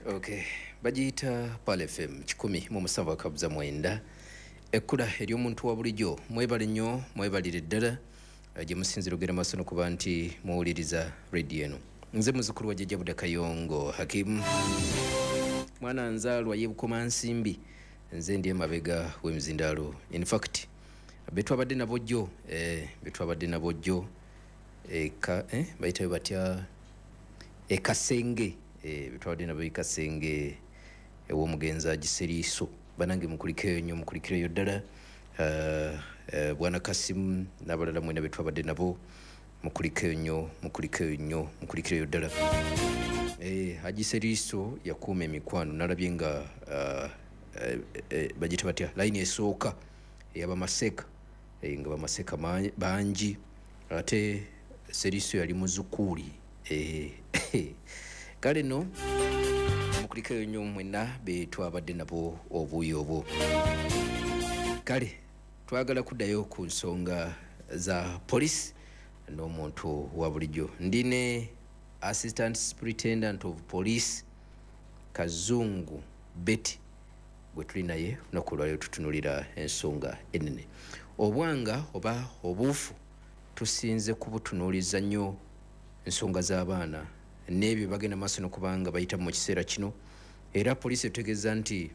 Okay, bagiyita Pal FM 107.9, ekkula ery'omuntu wa bulijjo. Mwebale nnyo, mwebalire ddala gye musinzira ogenda maaso nokuba nti muwuliriza rediyo eno. Nze muzukulu wa Jjajja Buda Kayongo Hakimu, mwana nzaalwa y'e Bukomansimbi. Nze ndi emabega w'emizindaalo. In fact, betwabadde nabo jjo, betwabadde nabo jjo eka, bayitayo batya, ekasenge, betwabadde nabo ekasenge ew'omugenzi Agiseriiso. Banange, mukulikeyo nnyo, mukulikireyo ddala. Bwana Kasimu n'abalala mwena betwabadde nabo, mukulikeyo nnyo, mukulikeyo nnyo, mukulikireyo ddala. Agiseriiso yakuuma emikwano. Nalabye nga bagita batya, layini esooka eyabamaseeka, nga bamaseeka bangi, ate Seriiso yali muzukuuli. Kale no mukulikeyo nnyo mwenna betwabadde nabo obuuyi obwo. Kale twagala kuddayo ku nsonga za poliisi n'omuntu wa bulijjo. Ndi ne Assistant Superintendent of Police Kazungu Betty gwe tuli naye lunaku olwaliro. Tutunulira ensonga enene, obwanga oba obuufu tusinze kubutunuuliza nnyo ensonga z'abaana n'ebyo bagenda maaso nokubanga bayita mu kiseera kino. Era poliisi etutegeeza nti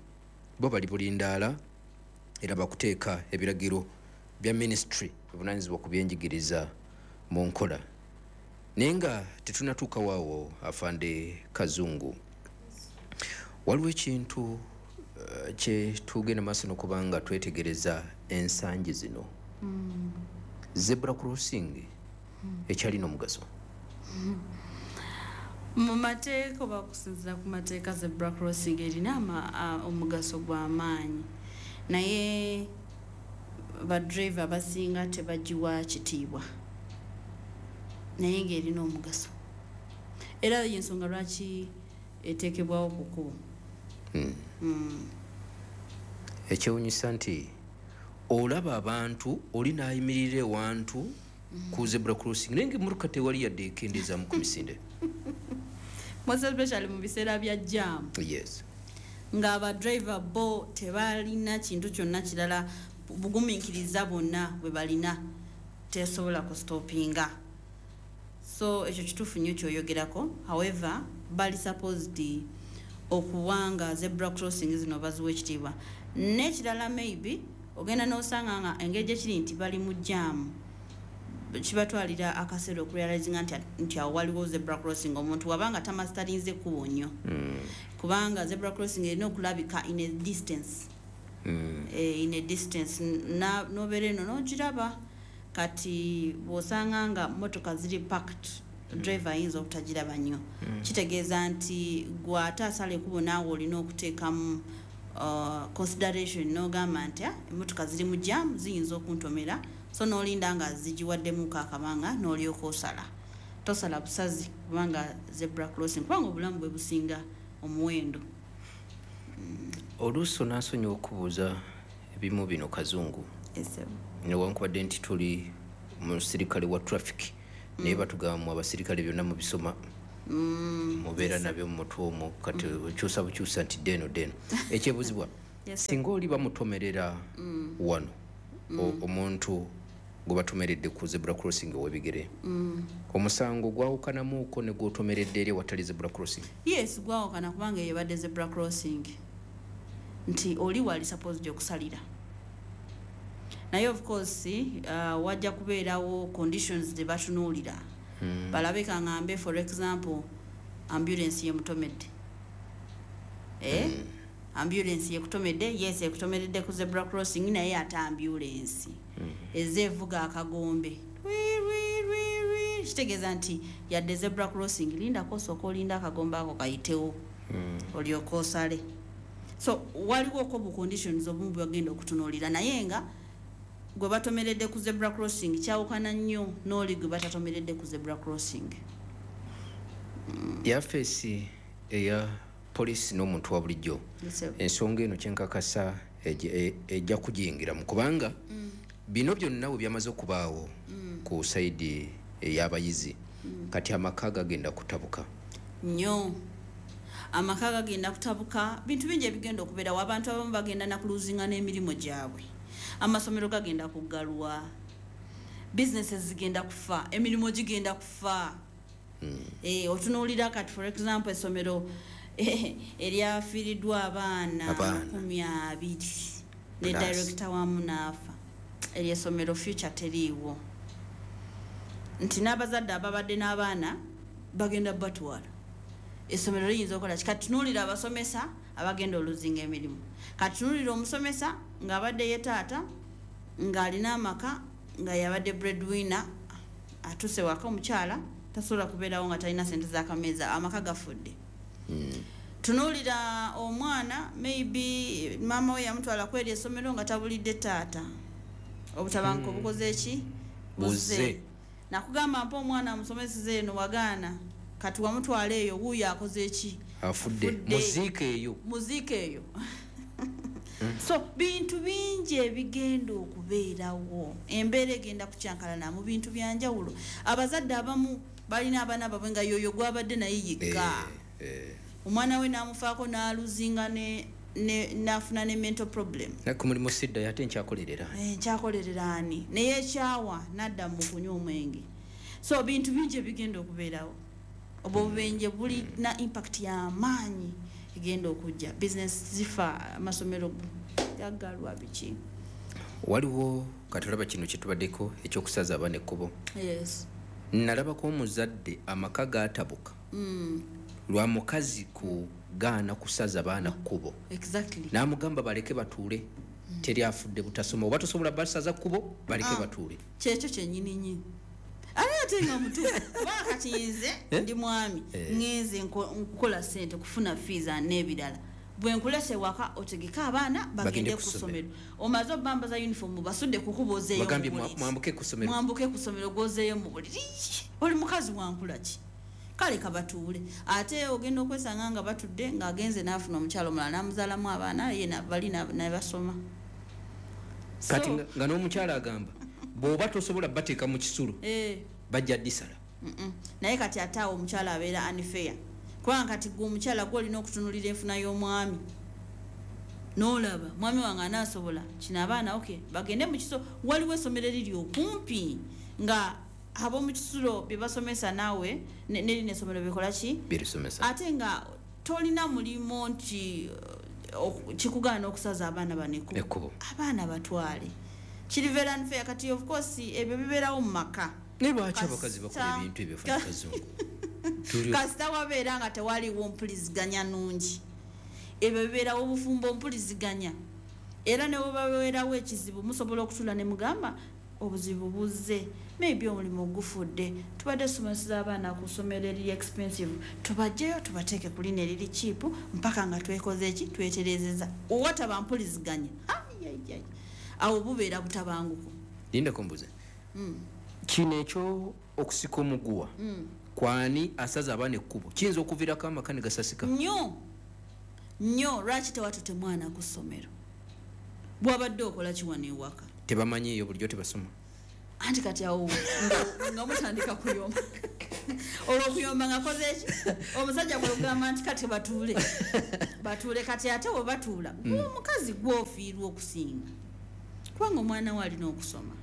bo bali bulindaala era bakuteeka ebiragiro bya ministry ebuvunanyizibwa ku byenjigiriza mu nkola. Naye nga tetunatuuka waawo, afande Kazungu, waliwo ekintu kye tugenda maaso nokubanga twetegereza ensangi zino. Zebra crossing ekyalina omugaso? Mu mateeka oba okusinziira ku mateeka, zebra crossing erina omugaso gw'amaanyi, naye badriver abasinga tebagiwa kitiibwa, naye ng'erina omugaso, era yensonga lwaki eteekebwawo ku kkubo. Ekyewunyisa nti olaba abantu oli n'ayimirira ewantu ku zebra crossing, naye nga emmotoka tewali yadde ekendeezaamu ku misinde. Most especially mu biseera bya jam, ng'abadriver bo tebalina kintu kyonna kirala, bugumiikiriza bwonna bwe balina tesobola kustopinga. So ekyo kituufu nnyo kyoyogerako. However, bali supposed okuwanga zebra crossing zino baziwa ekitiibwa. N'ekirala, maybe ogenda n'osanga nga engeri gyekiri nti bali mu jam, kibatwalira akaseera okurealizinga nti awo waliwo zebra crossing, omuntu wabanga tamasitalinze ekkubo nnyo, kubanga zebra crossing erina okulabika in a distance. In a distance nobeera eno n'ogiraba. Kati bw'osanga nga motoka ziri packed, driver ayinza obutagiraba nnyo. Kitegeeza nti gwe ate asala ekkubo naawe olina okuteekamu consideration n'ogamba nti, "Ah, emmotoka ziri mu jam, ziyinza okuntomera," so n'olinda nga zigiwaddemuko akabanga n'olyoka osala. Tosala busazi kubanga zebra crossing, kubanga obulamu bwe businga omuwendo. Oluusi onaasonyiwa okubuuza ebimu bino, Kazungu, newankubadde nti tuli musirikale wa traffic, naye batugamba mu abasirikale byonna mubisoma, mubeera nabyo mu mutwe omwo. Kati okyusa bukyusa nti deeno deeno. Ekyebuuzibwa, Yes, sir. singa oli bamutomerera wano, omuntu gwe batomeredde ku zebra crossing ow'ebigere, omusango gwawukanamuuko ne gwotomeredde eri ewatali zebra crossing? Yes, gwawukana, kubanga eyo ebadde zebra crossing nti oli wali supposed okusalira. Naye of course wajja kubeerawo conditions ze batunuulira, balabe kaŋŋambe, for example, ambulance yemutomedde, eh? Ambulance yekutomedde, yes, ekutomeredde ku zebra crossing, naye ate ambulance eze evuga akagombe. Rwi, rwi, rwi, rwi. Kitegeeza nti yadde zebra crossing, lindako, osooka olinda akagombe ako kayitewo, olyoka osale. So waliwoko bu conditions obumu bwegenda okutunuulira, naye nga gwe batomeredde ku zebra crossing kyawukana nnyo n'oli gwe batatomeredde ku zebra crossing. Yafeesi eya poliisi n'omuntu wa bulijjo, Yes, sir. ensonga eno kyenkakasa ejja kugiyingiramu, kubanga bino byonna bwe byamaze okubaawo ku side ey'abayizi, kati amaka gagenda kutabuka. Nnyo. Amaka gagenda kutabuka, bintu bingi ebigenda okubeerawo. Abantu abamu bagenda nakuluzinga n'emirimu gyabwe, amasomero gagenda kuggalwa, businesses zigenda kufa, emirimu gigenda kufa. Otunuulira kati, for example, essomero eryafiiriddwa abaana Abaana. 20 ne Plus. director wamu n'afa, eryessomero future teriiwo, nti n'abazadde ababadde n'abaana bagenda batwala. Essomero liyinza okukola ki? Kati tunuulira abasomesa abagenda oluzinga emirimu. Kati tunuulira omusomesa ng'abadde ye taata, ng'alina amaka, nga yabadde breadwinner, atuuse waka, omukyala tasobola kubeerawo nga talina sente z'akameeza, amaka gafudde. Tunuulira omwana, maybe maama we yamutwala kweri essomero nga tabulidde taata, obutabanguko bukoze ki? Buzze. Nakugamba mpa omwana amusomeseza eno, wagaana. Kati wamutwala eyo, wuuyo akoze ki? Afudde. Afudde. Muziika eyo. Muziika eyo. So bintu bingi ebigenda okubeerawo, embeera egenda kukyankalana mu bintu byanjawulo. Abazadde abamu balina abaana babwe nga yoyo gwabadde naye yekka. Omwana we n'amufaako n'aluzinga n'afuna ne mental problem. Naku mulimu siddayo, ate nkyakolerera. Nkyakolerera ani? Neyekyawa n'adda mu kunywa omwenge. So bintu bingi ebigenda okubeerawo. Obwo obubenje bulina impact y'amaanyi egenda okujja, business zifa, amasomero gaggalwa, biki. Waliwo kati olaba kino kyetubaddeko ekyokusaza abaana ekkubo. Yes. Nalabako omuzadde amaka gatabuka lwa mukazi kugaana kusaza baana kkubo. N'amugamba baleke batuule, teri afudde butasoma, oba tosobola basaza kkubo, baleke batuule. Kyekyo kyennyini nyini, ate ate nga mutuufu, kubanga kati nze ndi mwami, ngenze nkola sente kufuna fees n'ebirala, bwe nkulese waka otegeke abaana bagende Bagende ku ku ssomero. ssomero, omaze obambaza uniform, basudde kukuba, ozeeyo Bagambye mu buliri. Mwambuke ku ssomero. Mwambuke ku ssomero, gwozeeyo mu buliri. Oli mukazi wankula ki? Kale kabatuule. Ate ogenda okwesanga nga batudde, ng'agenze n'afuna omukyalo omulala n'amuzaalamu abaana, ye bali ne basoma. Kati nga n'omukyala agamba bw'oba tosobola bateeka mu kisulo, bajja ddisala. Naye kati ate awo omukyala abeera unfair, kubanga kati gwe omukyala gwe olina okutunulira enfuna y'omwami n'olaba mwami wange anaasobola kino, abaana ok bagende mu kiso, waliwo essomero eriri okumpi nga ab'omu kisulo bye basomesa naawe nerino essomero bikola ki? Birisomesa. Ate nga tolina mulimu nti kikugaana okusaza abaana bano ekkubo. Ekkubo. Abaana batwale, kiri very unfair. Kati of course ebyo bibeerawo mu maka. Naye lwaki abakazi bakola ebintu ebyo, Fani Kazungu? Kasita wabeera nga tewaliwo mpuliziganya nungi, ebyo bibeerawo. Obufumbo mpuliziganya, era ne webabeerawo ekizibu musobola okutula ne mugamba obuzibu buzze, maybe omulimu gufudde, tubadde tusomeseza abaana ku ssomero eriri expensive, tubajjeyo tubateeke ku lino eriri cheap mpaka nga twekoze eki, tweterezeza. Owataba mpuliziganya, ayayay, awo bubeera butabanguko. Lindako mbuze. Kino ekyo okusika omuguwa kwani asaza abaana ekkubo kiyinza okuviirako amaka ne gasasika? Nnyo nnyo. Lwaki tewatute mwana ku ssomero? Bwabadde okola kiwano ewaka? Tebamanyiiyo, bulijjo tebasoma. Anti kati awo nga mutandika kuyomba, olwo okuyomba nga koze eki? Omusajja bwegamba nti kati batuule, batuule, kati ate we batuula, gwe omukazi gwofiirwa okusinga, kubanga omwana we alina okusoma.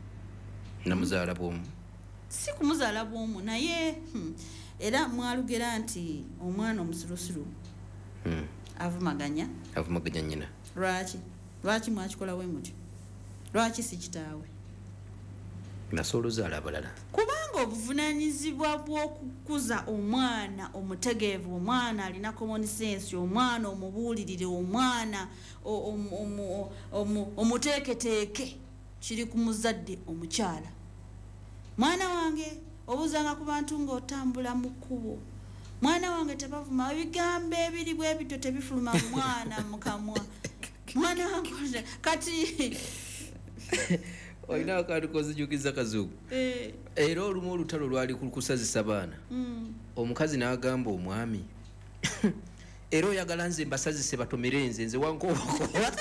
Namuzaala bwomu. Si kumuzaala bwomu, naye era mwalugera nti omwana omusirusiru avumaganya. Avumaganya nnyina. Lwaki mwakikola bwe mutyo? Lwaki si kitaawe? Nasobola ozaala abalala. Kubanga obuvunanyizibwa bw'okukuza omwana omutegeevu, omwana alina common sense, omwana omubuulirire, omwana omuteeketeeke, kiri ku muzadde omukyala. Mwana wange, obuuzanga ku bantu ng'otambula mu kkubo, mwana wange, tebavuma, ebigambo ebiri bwe bityo tebifuluma mwana mu kamwa, mwana wange. Kati Olina akantu kozijukiza, Kazungu. Era olumu olutalo lwali ku kusazisa baana. Omukazi n'agamba omwami, era oyagala nze mbasazise batomere nze, nze wankobakoba.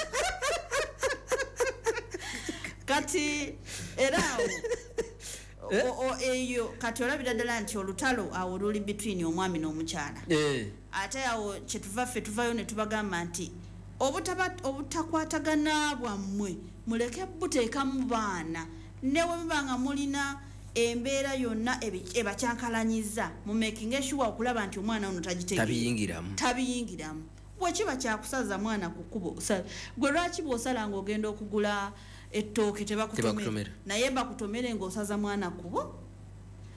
Kati era awo Eyo kati olabira ddala nti olutalo awo luli between omwami n'omukyala. Ate awo kyetuva ffe tuvayo ne tubagamba nti obutakwatagana bwammwe muleke buteekamu baana, ne bwe muba nga mulina embeera yonna ebakyankalanyiza, mu making sure okulaba nti omwana ono tagitegeera. Tabiyingiramu. Tabiyingiramu. Bwekiba kyakusaza mwana ku kkubo, gwe lwaki bw'osala ng'ogenda okugula ettooke tebakutomera? Tebakutomera. Naye bakutomere ng'osaza mwana kkubo.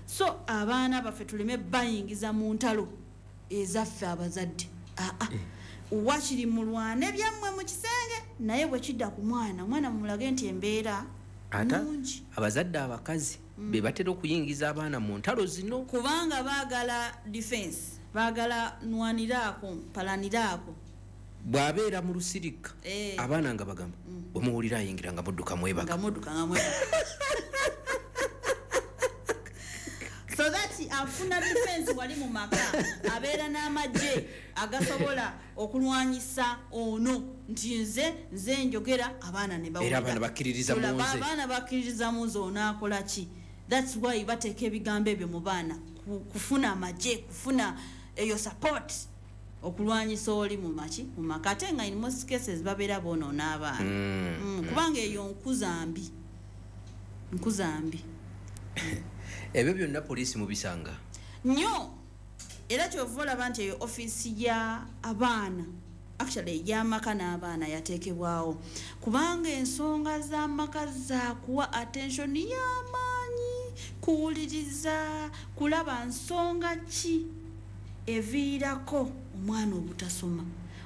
So abaana baffe tuleme bayingiza mu ntalo ezaffe abazadde. Aa, wakiri mulwane byammwe mu kisenge, naye bwe kidda ku mwana, omwana mumulage nti embeera Ate nungi. abazadde abakazi be batera okuyingiza abaana mu ntalo zino. Kubanga baagala defense, baagala nwaniraako, mpalaniraako. Bw'abeera mu lusirika, abaana nga bagamba, bwe muwulira ayingira nga mudduka mwebaka. Nga mudduka nga mwebaka, so that afuna defense wali mu maka, abeera n'amagye agasobola okulwanyisa ono nti nze njogera, abaana ne bawulira. Era abaana bakkiririza mu Tulaba nze. Abaana bakkiririza mu nze, onaakola ki? That's why bateeka ebigambo ebyo mu baana, kufuna amagye, kufuna eyo support okulwanyisa oli mu maki, mu maka. Ate nga in most cases babeera boonoona abaana. Kubanga eyo nkuza mbi, nkuza mbi. Ebyo byonna poliisi mubisanga? Nnyo. Era kyova olaba nti eyo ofiisi ya abaana, actually ey'amaka n'abaana, yateekebwawo kubanga ensonga z'amaka zakuwa attention y'amaanyi, kuwuliriza, kulaba nsonga ki eviirako omwana obutasoma.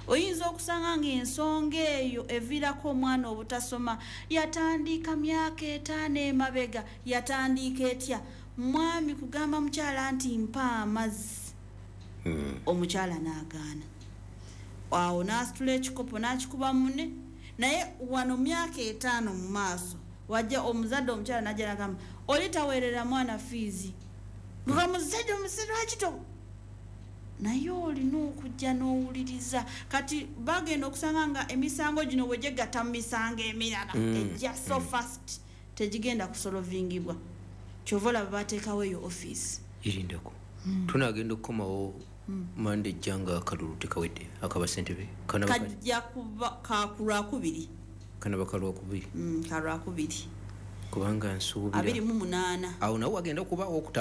Oyinza okusanga ng'ensonga eyo eviirako omwana obutasoma yatandika myaka 5 emabega. Yatandika etya? Mwami kugamba mukyala nti mpa amazzi, omukyala n'agaana, awo n'asitula ekikopo n'akikuba munne. Naye wano myaka 5 mu maaso wajja omuzadde omukyala n'ajja n'agamba oli taweerera mwana fiizi, nga muzadde omusajja lwaki to, naye olina okujja n'owuliriza. Kati bagenda okusanga nga emisango gino bwe gyegatta mu misango emirala ejja so fast, tegigenda kusolvingibwa. Kyova olaba bateekawo eyo ofiisi. Irindeko, tunagenda okukomawo mande ejja nga akalulu tekawedde akabasentebe. Kajja kuba kakulwakubiri. Kanaba kalwakubiri. Kalwakubiri. Kubanga nsuubira 28. Awo nawo wagenda okubaawo okutaba.